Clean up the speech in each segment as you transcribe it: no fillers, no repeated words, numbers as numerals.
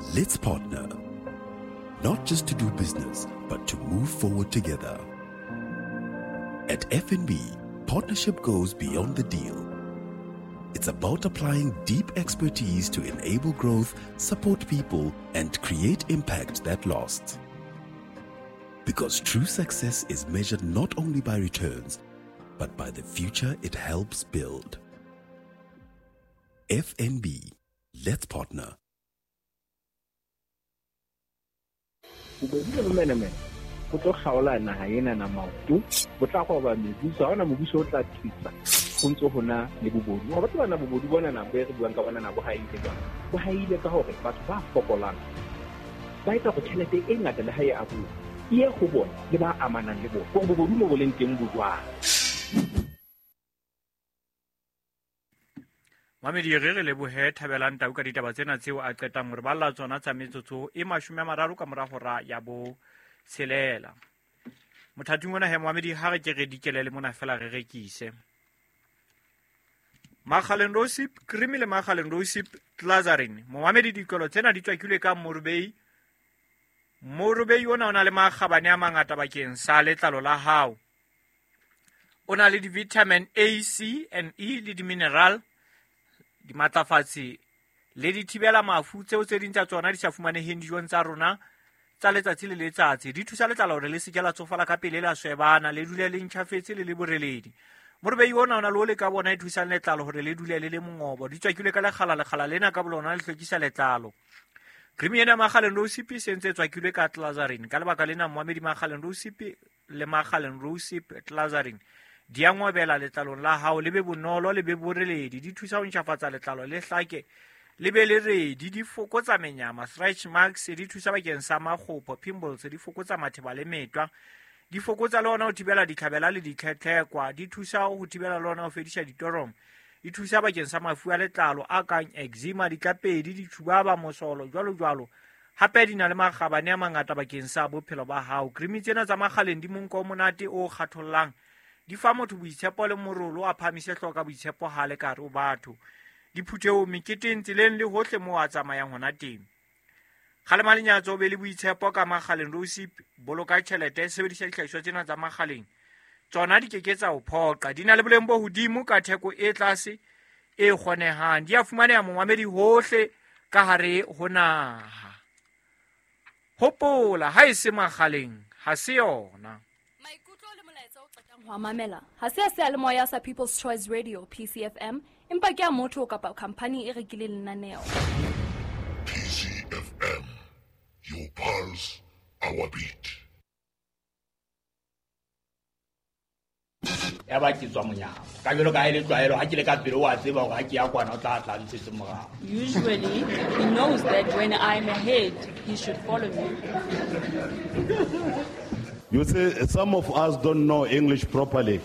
Let's partner. Not just to do business, but to move forward together. At FNB, partnership goes beyond the deal. It's about applying deep expertise to enable growth, support people, and create impact that lasts. Because true success is measured not only by returns, but by the future it helps build. FNB, let's partner. Bobodu le bomenemene bo tlo kgaola naha ena na maoto, bo tla roba mebuso, ha hona mobuso o tla thusa ho ntso hona le bobodu. Wa tseba na bobodu bona na bo re buang ka bona na bo haile jwang? Bo haile ka hore batho ba fokolang ba etsa hore tjhelete e ngata le ha e abuwa e ye ho bona le ba amanang le bona. Hore bobodu mo bo leng teng bo jwang. Mamedi re re lebohe Thabelang Tau ka ditaba tsena tseo a qetang hore balla tsona tsa metsotso e 30 ka mora hora ya bo tshelela. Mothating ona he Mohamedi ha re ke re dikele le mona fela re rekise. Makgaleng Rosip, cream le Makgaleng Rosip Glazarin. Mohamedi dikolo tsena di tswakilwe ka Morubei. Morubei ona o na le makgabane a mangata bakeng sa letlalo la hao. O na le di-vitamin A, C and E le di-mineral, dimatlafatsi le dithibela mafu tseo tse ding tsa tsona di sa fumaneheng dijong tsa rona tsa letsatsi le letsatsi. Di thusa letlalo hore le se ke la tsofala ka pele, la swebana, le dule le ntjhafetse le le boreledi. Morubei ona o na le o le ka bona e thusang letlalo hore le dule le le mongobo. Di tswakilwe ka lekgala, lekgala lena ka bolona le hlwekisa letlalo. Cream ena Makgaleng Rosip se ntse tswakilwe ka Glazarin. Ka lebaka lena Mohamedi Makgaleng Rosip le Makgaleng Rosip Glazarin di a ngobela letlalong la hao, le be bonolo, le be boreledi. Di thusa ho ntjhafatsa letlalo le hlake, le be le redi. Di fokotsa menyama, stretch marks, di thusa bakeng sa makgopho, pimples, di fokotsa matheba le metwa. Di fokotsa le hona ho thibela ditlhabela le ditlhetlhekwa. Di thusa ho thibela le hona ho fedisa ditoromo. Di thusa bakeng sa mafu a letlalo a kang eczema, ditlapedi, ditshubaba, mosolo, jwalo jwalo. Hape di na le makgabane a mangata bakeng sa bophelo ba hao. Cream tsena tsa Makgaleng di monko o monate o kgathollang. Di fa motho boitshepo le morolo, a phamise hlooho ka boitshepo ha le ka hare ho batho. Diphuthehong, meketeng, tseleng le hohle moo a tsamayang hona teng. Kgalema lenyatso, o be le boitshepo ka Makgaleng Rosip. Boloka tjhelete, sebedisa dihlahiswa tsena tsa Makgaleng. Tsona di keke tsa o phoqa. Di na le boleng bo hodimo ka theko e tlase e kgonehang. Di a fumaneha momamedi hohle ka hare ho naha. Hopola, ha e se Makgaleng, ha se yona. Maikutlo le molaetsa o qetang ho a mamela ha se a seyalemoya sa People's Choice Radio PCFM, empa ke a motho kapa khampani e rekileng lenaneo. PCFM, your pulse, our beat. Ya ba ke tswa monyako. Ka jwalo ka ha e le tlwaelo, ha ke le ka pele o a tseba hore ha ke ya kwana o tla tla ntshetse morao. Usually, he knows that when I'm ahead, he should follow me. You see, some of us don't know English properly.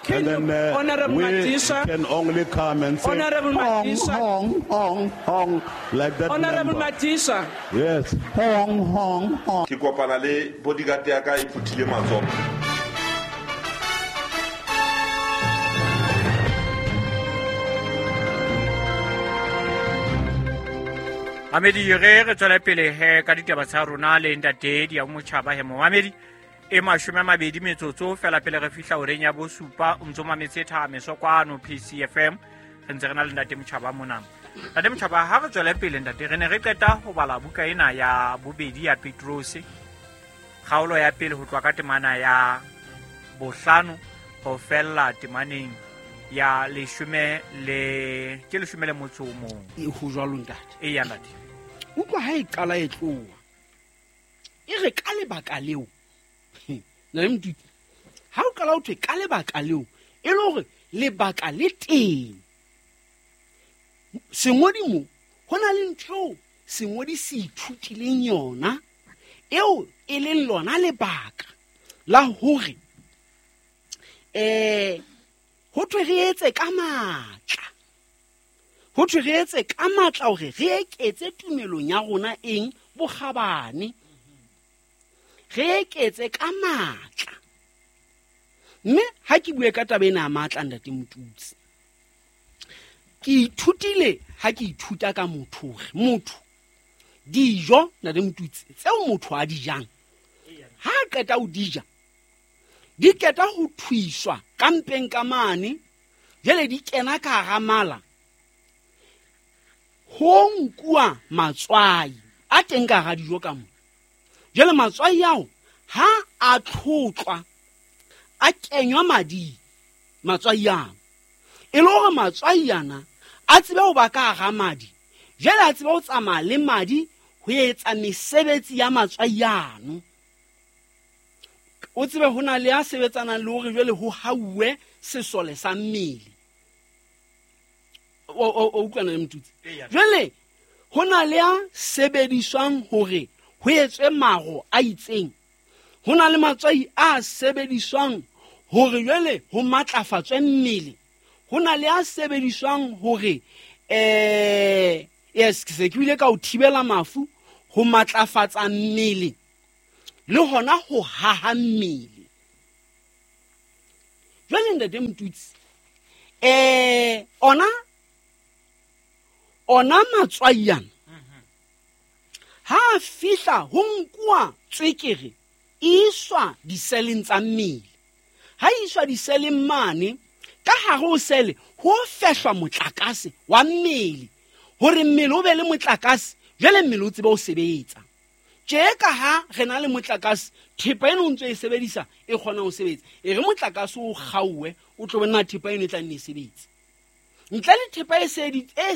Can And you, then Honorable we Madisha, can only come and say, Honorable Hong, Madisha. hong, hong, hong, like that Honorable number. Madisha. Yes. Hong, hong, hong. Ke kopana le bodyguard ya ka e phuthile matsoho. Mamedi, re re tswele pele he ka ditaba tsa rona le ntate di ya motjhaba he momamedi e 20 metsotso fela pele re fihla horeng ya bosupa. O ntso mametse Thameso kwano PCFM. Re ntse re na le ntate Motjhaba mona. Ntate Motjhaba, ha re tswele pele ntate, re ne re qeta ho bala buka ena ya bobedi ya Petrose, kgaolo ya pele ho tloha ka temana ya bohlano ho fella temaneng ya leshome le, ke leshome le motso o mong. E ho jwalo ntate. Eya ntate. Utlwa ha e qala e tloha. E re ka lebaka leo. Na le Motutsi, ha o qala ho thwe ka lebaka leo, e le hore lebaka le teng. Sengodi mo, ho na le ntho eo sengodi se ithutileng yona, eo e leng lona lebaka la hore, ho thwe re etse ka matla. Ho thwe re etse ka matla hore re eketse tumelong ya rona eng? Bokgabane. Re eketse ka matla. Mme ha ke bue ka taba ena ya matla, ntate Motutsi, ke ithutile ha ke ithuta ka motho hore motho Dijo ntate Motutsi tseo motho a di jang, ha a qeta ho di ja, di qeta ho thuiswa ka mpeng ka mane, jwale di kena ka hara mala. Ho nkuwa matswai a teng ka hara dijo ka mo. Jwale matswai ao ha a tlhotlwa, a kenywa mading, matswai ano. E le hore matswai ana a tsebe ho ba ka hara madi, jwale a tsebe ho tsamaya le madi ho etsa mesebetsi ya matswai ano. O tsebe ho na le a sebetsanang le hore jwale ho hauwe sesole sa mmele. O utlwana le Motutsi? Jwale ho na le a sebediswang hore ho etswe maro a itseng. Ho na le matswai a sebediswang hore jwale ho matlafatswe mmele. Ho na le a sebediswang hore yes, ke se ke bile ka ho thibela mafu, ho matlafatsa mmele le hona ho haha mmele. Jwale ntate Motutsi, ona matswai ana ha a fihla ho nkuwa tswekere e iswa diseleng tsa mmele. Ha e iswa diseleng mane, ka hare ho sele ho fehlwa motlakase wa mmele hore mmele o be le motlakase, jwale mmele o tsebe ho sebetsa. Tje ka ha re na le motlakase, thepa eno o ntso e sebedisa e kgona ho sebetsa. E re motlakase o kgaowe, o tlo bona thepa eno e tla nne e sebetse. Ntle le thepa e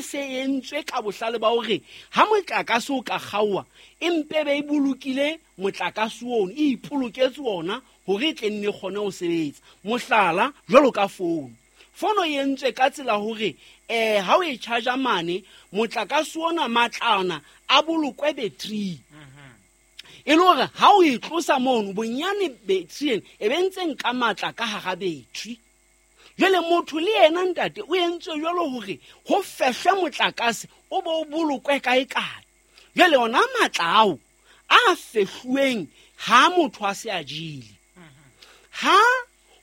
se entswe ka bohlale ba hore ha motlakase o ka kgaowa, e mpe be e bolokile motlakase ono, e ipoloketse ona hore e tle nne e kgone ho sebetsa. Mohlala, jwalo ka founu. Fono e entswe ka tsela hore ha o e charge mane, motlakase ona matlana a bolokwe battery. E le hore ha o e tlosa mono, bonyane battery ena e be ntse nka matla ka hara battery. Jwale motho le yena ntate o entswe jwalo hore ho fehlwe motlakase o bo o bolokwe kae kae. Jwale ona matla ao a fehluweng ha motho a se a jele, ha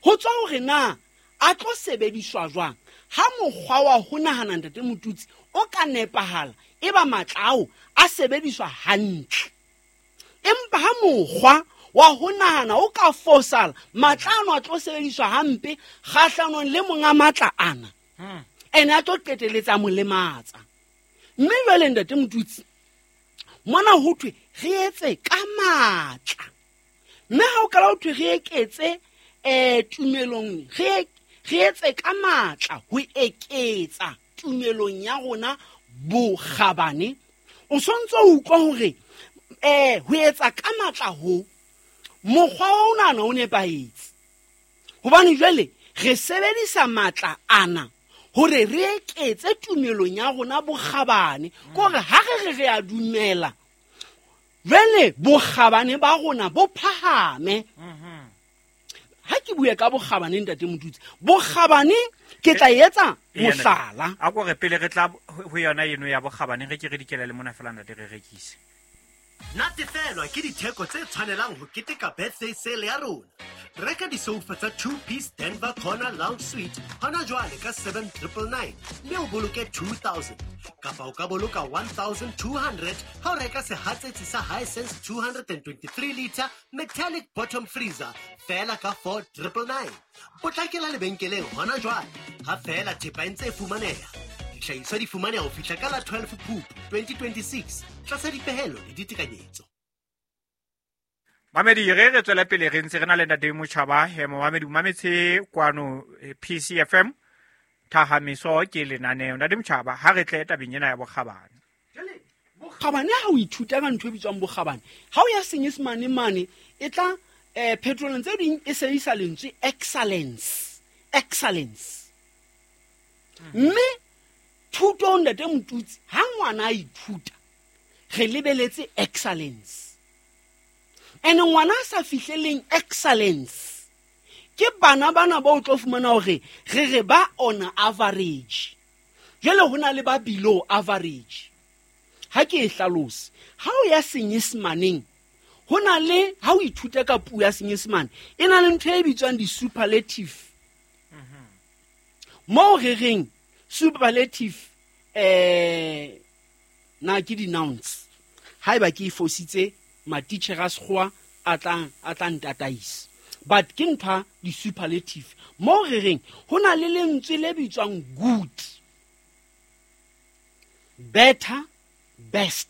ho tswa hore na a tlo sebediswa jwang. Ha mokgwa wa ho nahana ntate Motutsi o ka nepahala, e ba matla ao a sebediswa hantle. Empa ha mokgwa wa ho nahana o ka fosala, matla ano a tlo sebediswa hampe kgahlanong le monga matla ana, ene a tlo qeteletsa mo lematsa. Mme jwale ntate Motutsi, mona ho thwe re etse ka matla. Mme ha o kala ho thwe re eketse tumelong, re etse ka matla ho eketsa tumelong ya rona bokgabane, o sontso o utlwa hore ho etsa ka matla ho mokgwa wa ona o nepahetse. Hobane jwale re sebedisa matla ana hore re eketse tumelong ya rona bokgabane. Ke hore ha re re a dumela, jwale bokgabane ba rona bo phahame. Ha ke bue ka bokgabane ntate Motutsi, bokgabane ke tla etsa mohlala. A ko re pele re tla ho yona eno ya bokgabane, re ke re dikela le mona fela ntate re rekise. Natefelwa ke ditheko tse tshwanelang ho keteka birthday sale ya rona. Reka disofa tsa 2-piece Denver Corner Lounge Suite hona jwale ka 7999 mme o boloke 2000, kapa o ka boloka 1200 ha o reka sehatsetsi sa Hisense 223 liter metallic bottom freezer fela ka 4999. Potlakela lebenkeleng hona jwale ha fela thepa e ntse e fumaneha. Dihlahiswa di fumaneha ho fihla ka la 12 Phupu 2026 tlasa dipehelo le ditekanyetso. Mamedi, re tswela pele re ntse re na le ntate Motjhaba. Momamedi o mametse kwano PCFM Thahamiso ke lenaneo. Ntate Motjhaba, ha re tle tabeng ena ya bokgabane. Jwale bokgabane ha o ithuta ka ntho e bitswang bokgabane, ha o ya Senyesemane mane e tla petroleng tse ding e sebedisa lentswe excellence, excellence. Mme thuto ntate Motutsi, ha ngwana a ithuta re lebeletse excellence. Ene ngwana a sa fihleleng excellence ke bana bana ba o tlo fumana hore re re ba on average. Jwale ho na le ba below average. Ha ke e hlalose, ha o ya Senyesemaneng ho na le, ha o ithuta ka puo ya Senyesemane e na le ntho e bitswang di-superlative. Moo re reng superlative na ke di-nouns. Haeba ke e fositse matitjhere a sekgowa a tla ntataisa, but ke ntho di-superlative moo re reng ho na le lentswe le bitswang good, better, best,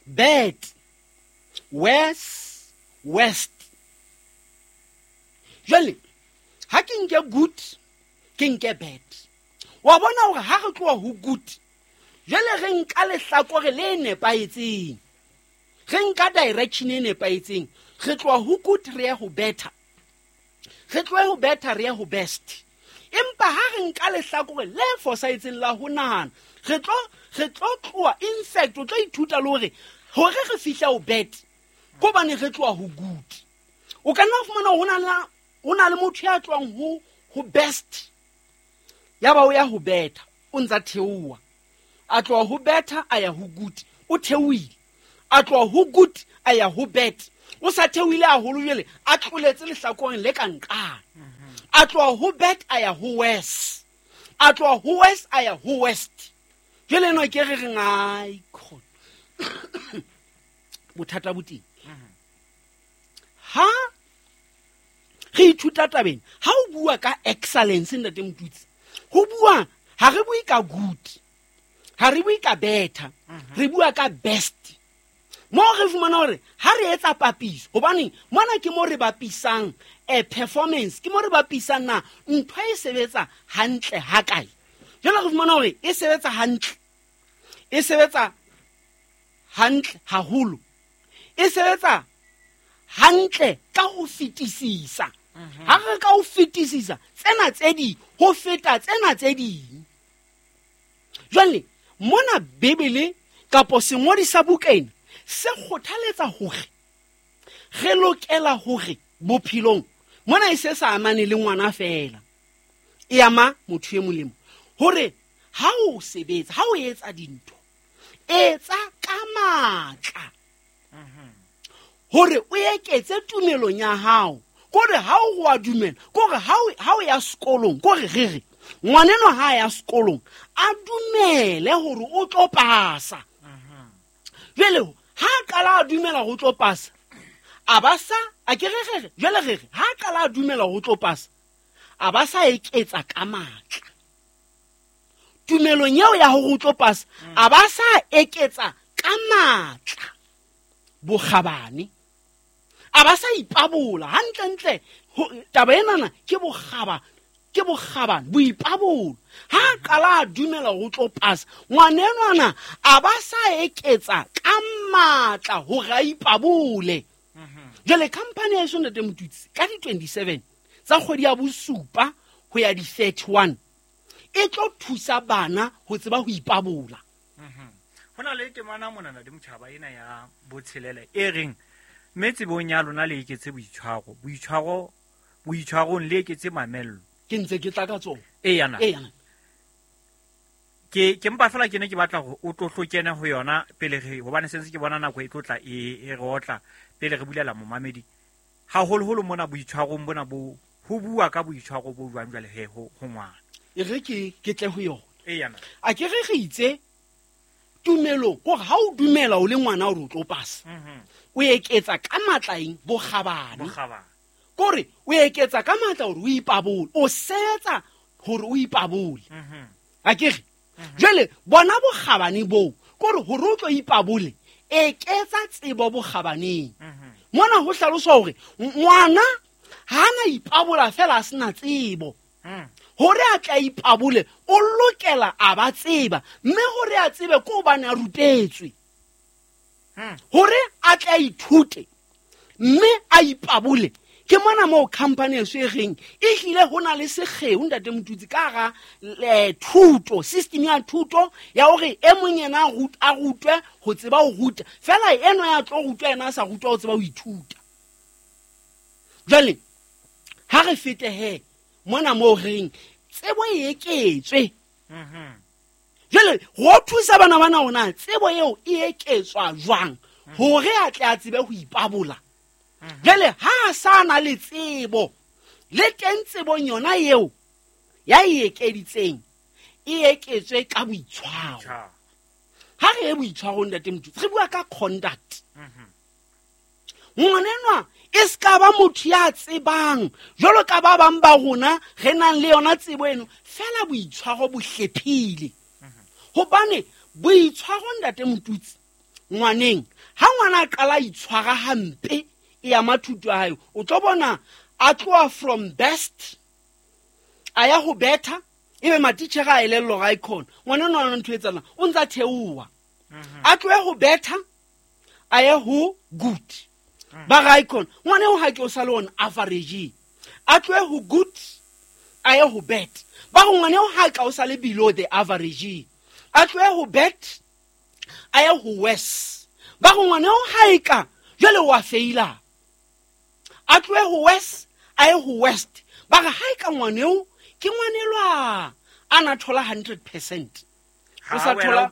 bad, worse, worst. Jwale ha ke nke good, ke nke bad. Wa bona hore ha re tloha ho good, jwale re nka lehlakore le nepahetseng, re nka direction e nepahetseng. Re tloha ho good re ye ho better, re tlohe ho better re ye ho best. Empa ha re nka lehlakore le fosahetseng la ho nahana, re tlo tloha, in fact o tlo ithuta le hore hore re fihla ho bad ke hobane re tloha ho good. O ka nna fumana ho na le motho ya tlohang ho best, ya ba o ya ho better, o ntsa theoha. A tloha ho better a ya ho good, o theohile. A tloha ho good a ya ho bad, o sa theohile haholo jwale a tloletse lehlakoreng le ka nqane. A tloha ho bad a ya ho worse, a tloha ho worse a ya ho worst. Jwale eno ke re reng ai khona bothata bo teng. Ha re ithuta tabeng, ha o bua ka excellence ntate Motutsi, ho bua ha re bue ka good, ha re bue ka better, re bua ka best. Mo re fumana hore ha re etsa papiso, hobane mona ke mo re bapisang performance, ke mo re bapisang na ntho e sebetsa hantle ha kae. Jwale re fumana hore e sebetsa hantle, e sebetsa hantle haholo, e sebetsa hantle ka ho fetisisa. Ha re ka ho fetisisa tsena tse ding ho feta tsena tse ding. Jwale mona Bibele kapo sengodi sa buka ena se kgothaletsa hore re lokela hore bophelong mona e se sa amane le ngwana fela, e ama motho e molemo, hore ha o sebetsa, ha o etsa dintho, etsa ka matla hore o eketse tumelong ya hao. Kore ha o wa dumela, kore ha o ya sekolong, kore re re ngwaneno ha ya sekolong a dumele hore o tlo pasa. Jwale ha qala a dumela ho tlo pasa, a ba sa a ke re jwale re re ha qala a dumela ho tlo pasa, a ba sa eketsa ka matla tumelong eo ya hore o tlo pasa, a ba sa eketsa ka matla bokgabane, a ba sa ipabola hantlentle. Taba enana ke bokgabane, boipabolo. Ha qala a dumela ho tlo pasa, ngwanenwana a ba sa eketsa ka matla hore a ipabole. Jwale company ya eso ntate Motutsi ka di-27 tsa kgwedi ya bosupa ho ya di-31 e tlo thusa bana ho tseba ho ipabola. Ho na le temana mona ntate Motjhaba ena ya botshelela e reng mme tsebong ya lona le eketse boitshwaro, boitshwarong le eketse mamello. Ke ntse ke tla ka tsona. Eya. Ke mpa fela ke ne ke batla hore o tlo hlokene ho yona pele re, hobane sentse ke bona nako e tlo tla e re otla pele re bulela momamedi. Haholoholo mona boitshwarong bona bo ho bua ka boitshwaro bo jwang jwale he ho ngwana. E re ke tle ho yona. Eya. A ke re re itse tumelong hore ha o dumela o le ngwana hore o tlo pasa, o eketsa ka matla eng? Bokgabane. Kore o eketsa ka matla hore o ipabole, o sebetsa hore o ipabole. A ke re jwale bona bokgabane boo, kore hore o tlo ipabole, eketsa tsebo bokgabaneng. Mona ho hlaloswa hore ngwana ha na ipabola fela a sena tsebo. Hore a tla ipabole o lokela a ba tseba, mme hore a tsebe ke hobane a rutetswe. Hore a tla ithute mme a ipabole. Ke mona moo company eso e reng e hlile ho na le sekgeo ntate Motutsi ka hara thuto, system ya thuto ya hore e mong yena a rutwe ho tseba ho ruta, fela eno ya tlo rutwa yena a sa rutwa ho tseba ho ithuta. Jwale ha re fete he mona moo reng tsebo e eketswe. Jwale ho thusa bana bana hona tsebo eo e eketswa jwang hore a tle a tsebe ho ipabola. Jwale ha a sa na le tsebo, le teng tsebong yona eo ya e ekeditseng e eketswe ka boitshwaro. Ha re boitshwarong ntate Motutsi, re bua ka conduct. Ngwanenwa e se ka ba motho ya tsebang jwalo ka ba bang ba rona re nang le yona tsebo eno, fela boitshwaro bo hlephile. Hobane boitshwaro ntate Motutsi ngwaneng, ha ngwana a qala itshwara hampe e ama thuto ya hae, o tlo bona a tloha from best a ya ho better, ebe matitjhere a elellwa hore ae khona ngwana enwa ona ntho e etsahalang, o ntsa theoha. A tlohe ho better a ye ho good, ba re ae khona ngwana eo ha ke o sa le on average, a tlohe ho good a ye ho bad, ba re ngwana eo ha ka o sa le below the average, a tlohe ho bad a ye ho worse, ba re ngwana eo ha e ka jwale wa feila, a tlohe ho worse a ye ho worst, ba re ha e ka ngwana eo ke ngwanelwa a na thola 100%, o sa thola,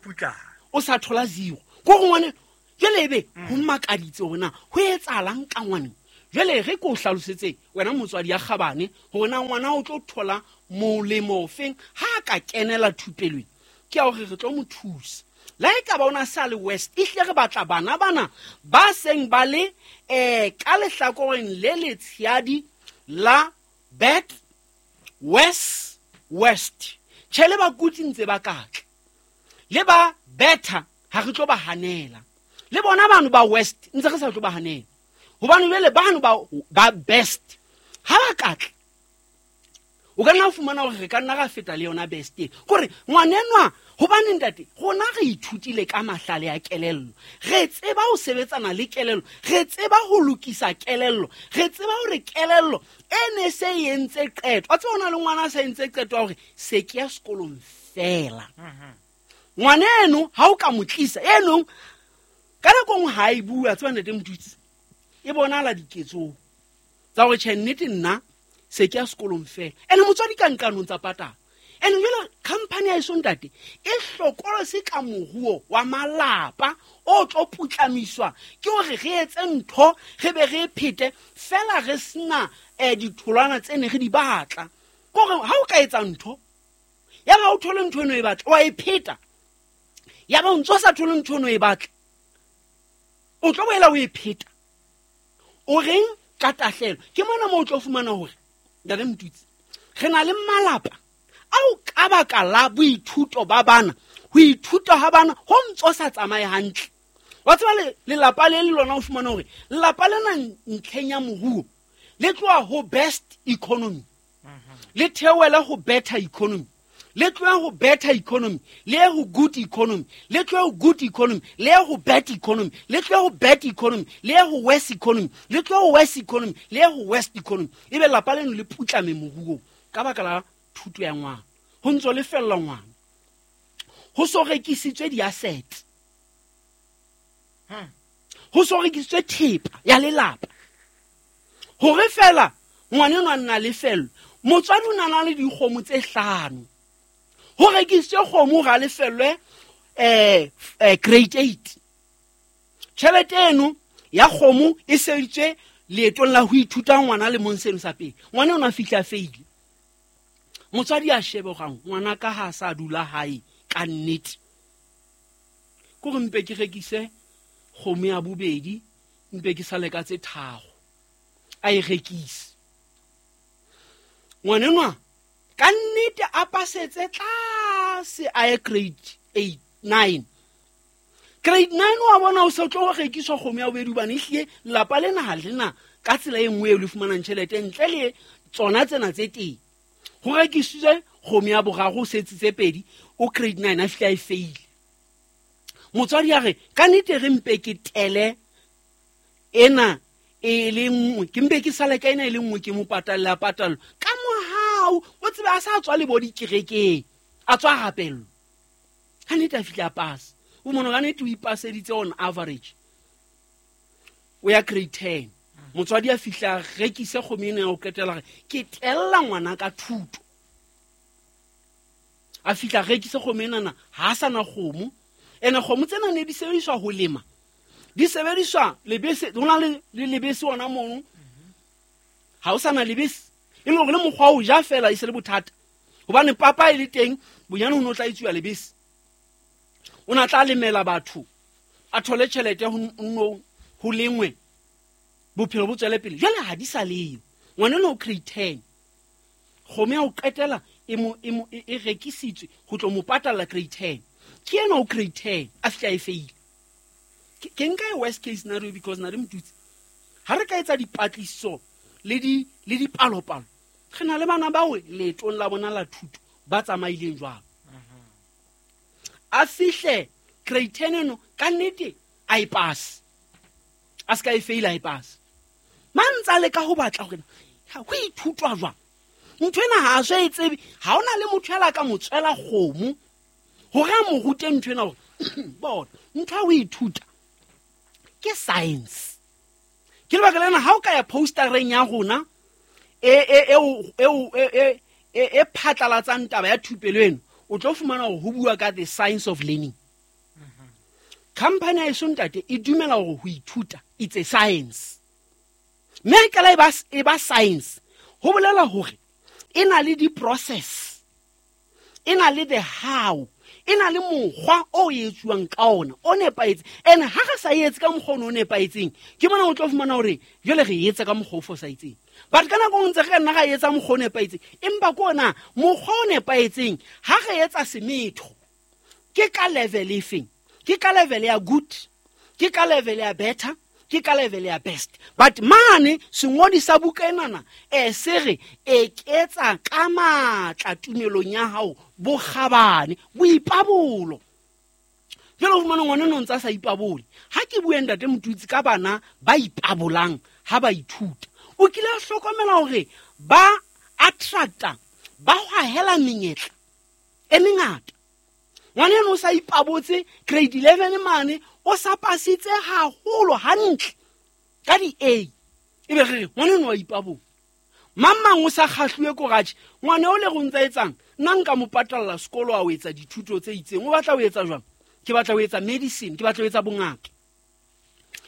o sa thola 0, ko go ngwane jwale ebe ho makaditse hore na ho etsahalang ka ngwaneng. Jwale re ke o hlalosetse wena motswadi ya kgabane hore na ngwana o tlo thola molemo ofeng ha a ka kenela thupelong, ke ya hore re tlo mo thusa. Le ha e ka ba ona sa le west, ehlile re batla bana bana ba seng ba le ka lehlakoreng le letshehadi la bad, worse, worst. Tjhe, le ba kutsi ntse ba katla, le ba better ha re tlo ba hanela, le bona bano ba west ntse re sa tlo ba hanela, hobane jwale bano ba best ha ba katla, o ka nna fumana hore re ka nna ra feta le yona best e. Kore ngwanenwa, hobane ntate rona re ithutile ka mahlale a kelello, re tseba ho sebetsana le kelello, re tseba ho lokisa kelello, re tseba hore kelello e ne se e entse qeto. Wa tseba hona le ngwana a sa entse qeto ya hore se ke ya sekolong fela. Ngwaneno ha o ka mo tlisa enong ka nako nngwe ha e bua, tseba ntate Motutsi, e bonahala diketsong tsa hore tjhe nnete nna se ke ya sekolong fela. Ene motswadi ka nqanong tsa patala. Ene jwale company ya eso ntate e hlokolose ka moruo wa malapa o tlo putlamiswa ke hore re etse ntho re be re phete fela re sena ditholwana tse ne re di batla. Ke hore ha o ka etsa ntho ya ba o thole ntho eno e batla, wa e pheta, ya ba o ntso sa thole ntho eno e batla, o tlo boela o e pheta. O reng ka tahlelo? Ke mona moo o tlo fumana hore ntate Motutsi re na le malapa ao ka baka la boithuto ba bana, ho ithuta ha bana ho ntso sa tsamaye hantle. Wa tseba lelapa le le lona o fumana hore lelapa lena ntlheng ya moruo le tloha ho best economy, le theohele ho better economy, le tlohe ho better economy, le ye ho good economy, le tlohe ho good economy, le ye ho bad economy, le tlohe ho bad economy, le ye ho worse economy, le tlohe ho worse economy, le ye ho worst economy. Ebe lelapa leno le putlame moruong ka baka la thuto ya ngwana. Ho ntso le fella ngwana, ho so rekisitswe di-asset, ho so rekisitswe thepa ya lelapa, hore fela ngwana enwa a nna le fello. Motswadi o na le dikgomo tse 5, ho rekisitswe kgomo hore a lefellwe grade 8. Tjhelete eno ya kgomo e sebeditswe leetong la ho ithuta ngwana le mong seno sa pele. Ngwana o na fihla feile, motswadi a shebe hore ngwana ka ha sa dula hae ka nnete, ke hore mpe ke rekise kgomo ya bobedi, mpe ke sale ka tse 3, a e rekise. Ngwanenwa ka nnete a pasetse tlase a ye grade 8, 9. Grade 9 wa bona o se tlo rekiswa kgomo ya bobedi, hobane ehlile lelapa lena ha lena ka tsela e nngwe eo le fumanang tjhelete ntle le tsona tsena tse teng. Ho rekisitswe kgomo ya boraro, o setsitse 2, o grade 9 a fihla e feile. Motswadi a re ka nnete re mpe ke tele ena e le nngwe, ke mpe ke sale ka ena e le nngwe, ke mo patalle a patallo ka mohau. O tsebe a sa tswa le bo dikerekeng, a tswa rapello, ha nnete a fihla a pasa. O mona ka nnete o ipaseditse on average, o ya grade 10. Motswadi a fihla a rekise kgomo ena ya ho qetela, re ke tella ngwana ka thuto. A fihla a rekise kgomo enana, ha a sa na kgomo. Ene kgomo tsena ne di sebediswa ho lema, di sebediswa lebese, ho na le lebese hona mono. Ha o sa na lebese, e le hore le mokgwa o ja fela e se le bothata, hobane papa e le teng bonyane ho no tla etsuwa lebese. O na tla lemela batho a thole tjhelete ho lengwe bophelo bo tswele pele. Jwale ha di sa leyo. Ngwana no grade 10 kgomo ya ho qetela e rekisitswe ho tlo mo patalla grade 10. Ke yena o grade 10 a fihla e feile. Ke nka e worst case scenario because na re motutsi ha re ka etsa dipatlisiso le dipalopalo re na le bana bao leetong la bona la thuto ba tsamaileng jwalo. A fihle grade 10 eno ka nnete a e pass, a ska e fail a e pass. Mantsa le ka ho batla hore ho ithutwa jwang ntho ena ha a so e tsebe. Ha ona le motho ela ka mo tswela kgomo hore a mo rute ntho ena hore bona ntho ya ho ithuta ke science. Ke lebaka lena ha o ka ya postereng ya rona e phatlalatsang taba ya thupelo eno, o tlo fumana hore ho bua ka the science of learning. Company ya eso ntate e dumela hore ho ithuta it's a science. Mme ka la e ba science ho bolela hore e na le di-process, e na le the how, e na le mokgwa o etsuwang ka ona o nepahetseng. And ha re sa etse ka mokgwa o nepahetseng, ke mona o tlo fumana hore jwale re etsa ka mokgwa o fosahetseng. But ka nako ntse re ka nna ra etsa mokgwa o nepahetseng, empa ke ona mokgwa o nepahetseng ha re etsa semetho ke ka level efeng? Ke ka level ya good, ke ka level ya better, ke ka level ya best. But mane sengodi sa buka enana se re eketsa ka matla tumelong ya hao bokgabane boipabolo. Jwale o fumana ngwana no ntsa sa ipabole. Ha ke bue ntate Motutsi ka bana ba ipabolang ha ba ithuta, o kile a hlokomela hore ba attracta, ba hwahela menyetla e mengata. Ngwana eno o sa ipabotse grade 11 mane o sa pasitse haholo hantle ka di A, ebe re ngwana eno wa ipabola. Mang o sa kgahluwe ko ratjhe ngwana o le go ntsa etsang nna nka mo patalla sekolo a o etsa dithuto tse itseng. O batla ho etsa jwang? Ke batla ho etsa medicine, ke batla ho etsa bongaka.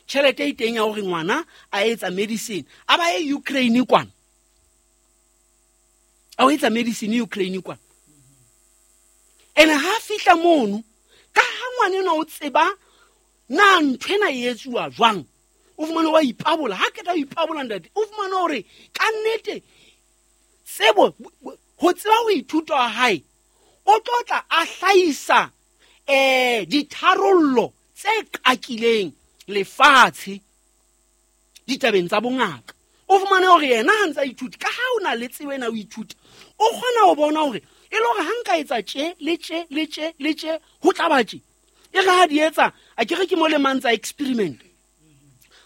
Tjhelete e teng ya hore ngwana a etsa medicine a ba ye Ukraine kwana, a o etsa medicine Ukraine kwana. Ene ha fihla mono ka ha ngwana ena o tseba na ntho ena e etsuwa jwang, o fumane wa ipabola. Ha keta o ipabola ntate, o fumane hore ka nnete tsebo ho tseba ho ithuta ha hae o tlo tla a hlahisa ditharollo tse qakileng lefatshe ditabeng tsa bongaka. O fumane hore yena ha ntsa ithuta, ka ha o na le tsebo ena o ithuta, o kgona ho bona hore e le hore ha nka etsa tje le tje le tje le tje ho tla ba tje. E re ha di etsa a ke re ke mo le mang tsa experiment,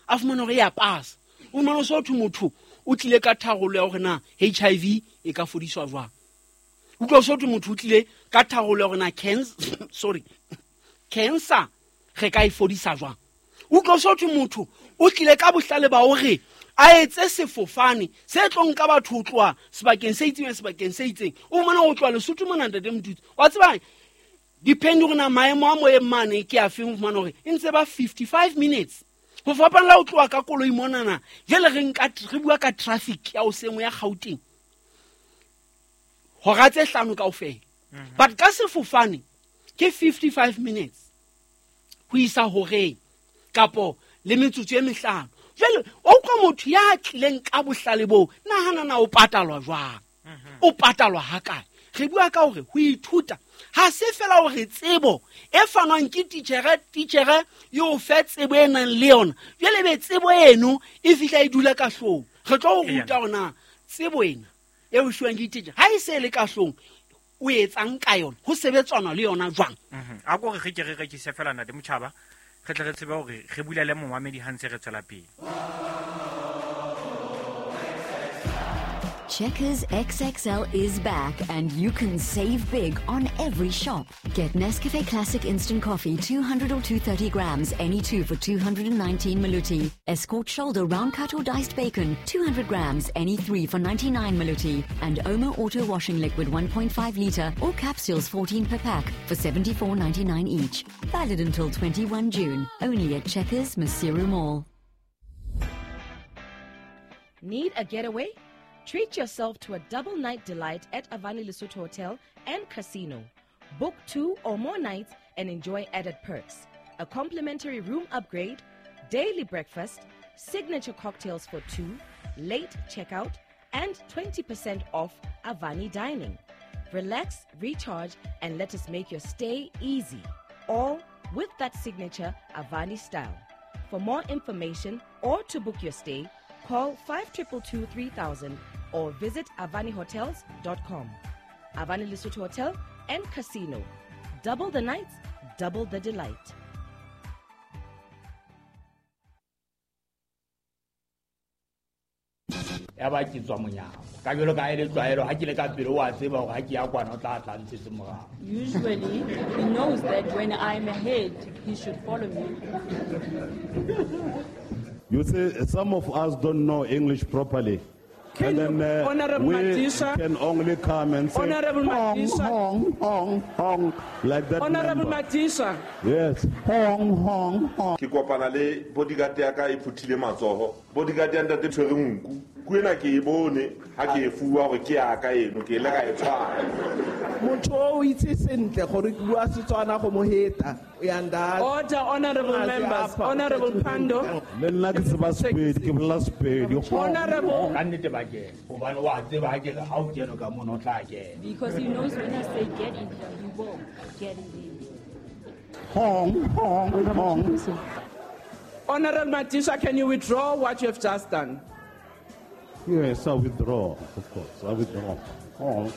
a fumana hore ya pasa. O fumana so thwe motho o tlile ka tharollo ya hore na HIV e ka fodiswa jwang. Utlwa so thwe motho o tlile ka tharollo ya hore na cancer re ka e fodisa jwang. Utlwa so thwe motho o tlile ka bohlale ba hore a etse sefofane se tlo nka batho ho tloha sebakeng se itseng sebakeng se itseng. O fumana ho tloha Lesotho mona ntate Motutsi, wa tseba depend hore na maemo a moyeng mane ke a feng. O fumana hore e ntse ba 55 minutes ho fapana le ho tloha ka koloi monana. Jwale re nka re bua ka traffic ya hoseng ya Gauteng hora tse 5 kaofela, but ka sefofane ke 55 minutes ho isa horeng kapo le metsotso e mehlano. Jwale o utlwa motho ya tlileng ka bohlale boo, nahana na o patalwa jwang, o patalwa hakae? Re bua ka hore ho ithuta ha se fela hore tsebo e fanwang ke titjhere e o fe tsebo e nang le yona. Jwale be tsebo eno e fihla e dula ka hloohong. Re tlo o ruta hore na tsebo ena e o fiwang ke titjhere ha e se le ka hloohong o etsang ka yona, ho sebetswana le yona jwang. A ko re ke re rekise fela ntate Motjhaba, re tle re tsebe hore re bulele momamedi ha ntse re tswela pele. Checkers XXL is back and you can save big on every shop. Get Nescafe Classic Instant Coffee 200 or 230 grams, any two for 219 Maluti. Escort Shoulder Round Cut or Diced Bacon, 200 grams, any three for 99 Maluti. And Omo Auto Washing Liquid 1.5 litre or capsules 14 per pack for 74.99 each. Valid until 21 June, only at Checkers Maseru Mall. Need a getaway? Treat yourself to a double night delight at Avani Lesotho Hotel and Casino. Book 2 or more nights and enjoy added perks, a complimentary room upgrade, daily breakfast, signature cocktails for two, late checkout, and 20% off Avani dining. Relax, recharge, and let us make your stay easy. All with that signature Avani style. For more information or to book your stay, call 5222 3000 or visit avanihotels.com. Avani Lesotho Hotel and Casino. Double the nights, double the delight. Ya ba ke tswa monyako ka jalo ka e le tlwaelo ha ke le ka pele wa tseba hore ha ke ya kwana o tla tla ntshetse morao. Usually, he knows that when I'm ahead, he should follow me. You see, some of us don't know English properly. Can and then Honorable we Madisha, can only come and say, Honorable hong, Madisha. hong, hong, hong, like that. Honorable member. Madisha. Yes. Hong, hong, hong. Ke kopana le bodyguard ya ka e phuthile matsoho. Bodyguard ya ntate tshwere nku. Ku ena ke e bone ha ke e fuwa hore ke ya ka eno, ke ile ka e tshwara. Motho o itse sentle gore ke bua Setswana go mo heta. Order, honorable members. Honorable Pando. Le nna ke tseba Sepedi, ke bolela Sepedi. Honorable. Ka nnete ba kena hobane wa tseba ha ke re ha o kene ka mono o tla kena. Because he knows when I say get in here, he will get in there. Hong, hong, hong. Honorable Madisha, can you withdraw what you have just done? Yes, I withdraw, of course. I withdraw. Hong.